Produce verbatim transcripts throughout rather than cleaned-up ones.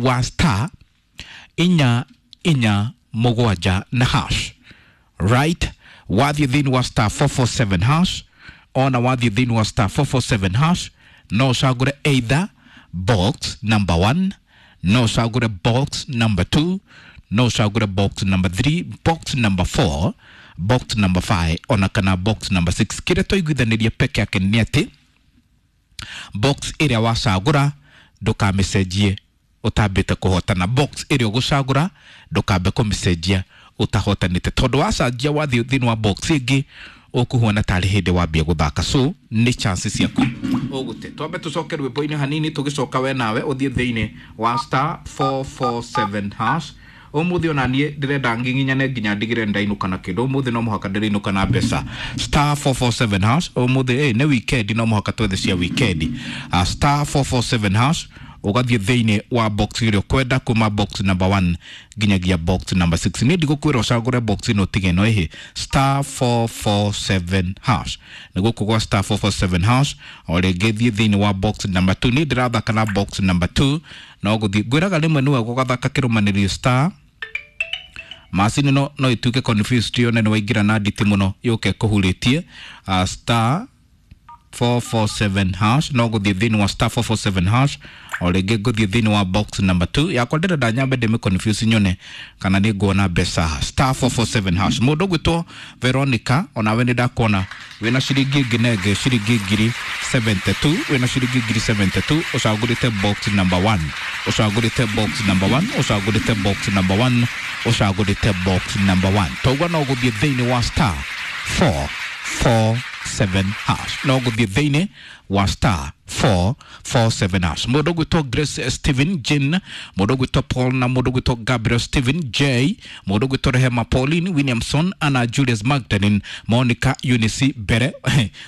wa star inya inya mũgwanja na hash, right? Wathiĩ thĩinĩ wa star four four seven hash, ona wathiĩ thĩinĩ wa star four four seven hash no ũcagũre either box number one, no ũcagũre box number two, no ũcagũre box number three, box number four, box number five ona kana box number six. Kĩrĩa twaiguithanĩria peke yake nĩ atĩ box ĩrĩa wacagũra ndũkamĩcenjie ũtambĩte kũhotana. Box ĩrĩa ũgũcagũra ndũkambe kũmĩcenjia ũtahotanĩte, tondũ wacenjia wathiĩ thĩinĩ wa box ĩngĩ ũkũhuana tarĩ hĩndĩ wambia gũthaka. So nĩ chance ciaku ũgũte. Twambe tũcoke rwĩmbo-inĩ hanini, tũgĩcoka we nawe ũthiĩ thĩinĩ wa star four four seven hash. Ũmũthĩ ona niĩ ndĩrenda nginginyane nginya ndigĩre ndainũka na kĩndũ. Ũmũthĩ no mũhaka ndĩrĩinũka na mbeca. Star four four seven hash. Ũmũthĩ eh, nĩ weekend, no mũhaka twethe cia weekend. Uh, star four four seven hash ũgathiĩ thĩinĩ wa box ĩrĩa ũkwenda kuma box number one nginyagia box number six. Niĩ ndigũkwĩra ũcagũre box ĩno ũtige ĩno ĩhĩ. Star four four seven hash nĩ gũkũ gwa star four four seven hash. O rĩngĩ thiĩ thĩinĩ wa box number two. Niĩ ndĩrathaka na box number two, no gũthiĩ ngwĩraga rĩmwe nĩwe gũgathaka kĩrũmanĩrĩrio star macini no no ituĩke confused yone nĩ waingĩra na nditi mũno yũke kũhurĩtie. uh, star four four seven hash no gũthiĩ thĩinĩ wa star four four seven hash. O rĩngĩ ngũthiĩ thĩinĩ wa box number two yakwa, ndĩrenda nyambe ndĩmĩ confuse nyone kana nĩ nguona mbeca. Star four four seven hash. Mũndũ ũgwĩtwo Veronica, onawe nĩ ndakuona wĩna ciringi nginenge ciringi ngiri seventy two, wĩna ciringi ngiri seventy two, ũcagũrĩte box number one, ũcagũrĩte box number one, ũcagũrĩte box number one, ũcagũrĩte box number one. Toguo no gũthiĩ thĩinĩ wa star four four seven hash, no gũthiĩ thĩinĩ wa star four four seven hash. Mũndũ ũgwĩtwo Grace Stephen Jane, mũndũ ũgwĩtwo Paul na mũndũ ũgwĩtwo Gabriel Stephen J, mũndũ ũgwĩtwo Rehema Pauline Williamson, Anna Julius Magdalene, Monica Eunice Mbere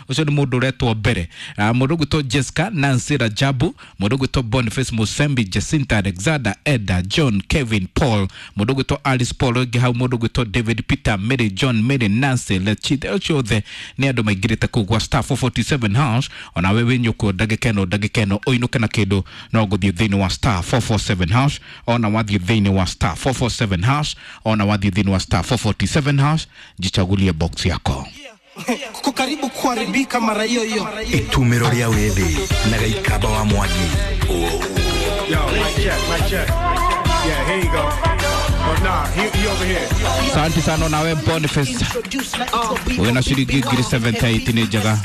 ũcio nĩ mũndũ ũretwo Mbere, uh, mũndũ ũgwĩtwo Jessica Nancy Rajabu, mũndũ ũgwĩtwo Boniface Musembi, Jacinta Alexander, Eda John Kevin Paul, mũndũ ũgwĩtwo Alice Paul ũngĩ hau, mũndũ ũgwĩtwo David Peter, Mary John, Mary Nancy Lechithe, acio othe nĩ andũ maingĩrĩte kũu gwa star four forty seven hash. Onawe wĩ nyũkũ ndagĩka ĩno ndagĩka ĩno ũinũke na kĩndũ no gũthiĩ thĩinĩ wa star four four seven hash. Ona wathiĩ thĩinĩ wa star four four seven hash, ona wathiĩ thĩinĩ wa star four forty seven hash, jichagulie box yako. Kuko karibu kuharibika mara hiyo hiyo. Itumiro rĩa wĩthĩ na gaikaba wa Mwangi. Yo, mic check, mic check. Yeah, here you go. But nah, he, he over here. Asante sana nawe Boniface. Wĩna ciringi ngiri seventy eight nĩ njega.